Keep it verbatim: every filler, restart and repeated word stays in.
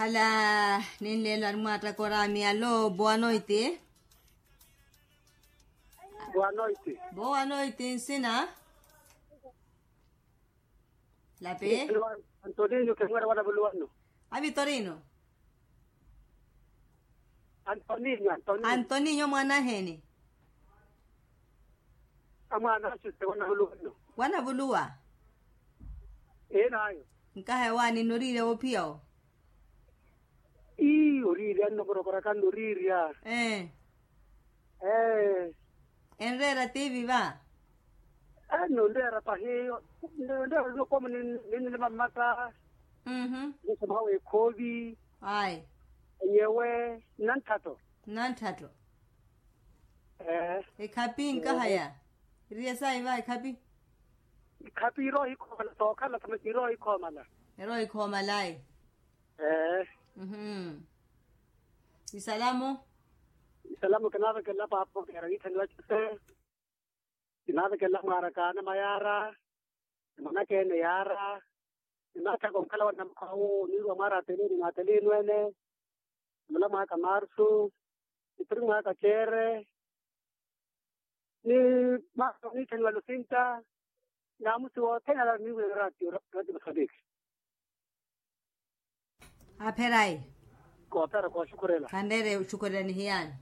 Ala, ninleelo arimwaattaka oraami alo boa noiti. Boa noiti. Boa noiti nsina. Lapi. Antoninho kemwera wana vuluwano. A vitorino. Antoninho antoninho. Antoninho mwanaheni. Amwana asuse wana vuluwano. Wana vuluwa. Ee nayo. Nkaha ewaani noriirya woophiya wo. Ii oriirya nno korokoraka nno oriirya. Ee. Ee. Enreera tivi va. Ee nno nreera pahi. Nreera nokoma ninnilima mmata. Mmm. Nisomaha weekhoovi. Ayi. Enyewe. Nnantthatto. Nnantthatto. Ee. Ekhaphi nkahaya. Iriye sayi va ekhaphi. Ekhaphi irowa ohikhomala sookhala thamasi irowa ohikhomala. Irowa ohikhomala ayi. Ee. Mmm. Isalamu. Isalamu kinaavekelela paapa okeera wiithaniwa cuse. Kinaavekelela mwaarakaana mayaara. Mwanaka ene yaara. Kinaathaka onkhala wa namukhawu niirwa mwaara ateliini n'ateliini ene. Mula mwaaka marsu. Nipiri mwaaka ceere. Ni mwaaka oniithaniwa lusinta. Naamusi wothene ala niwira ratio ratio masabiki. Apherayi. Koophera kooxukhurela. Khanreere oxukhurela nihiyaani.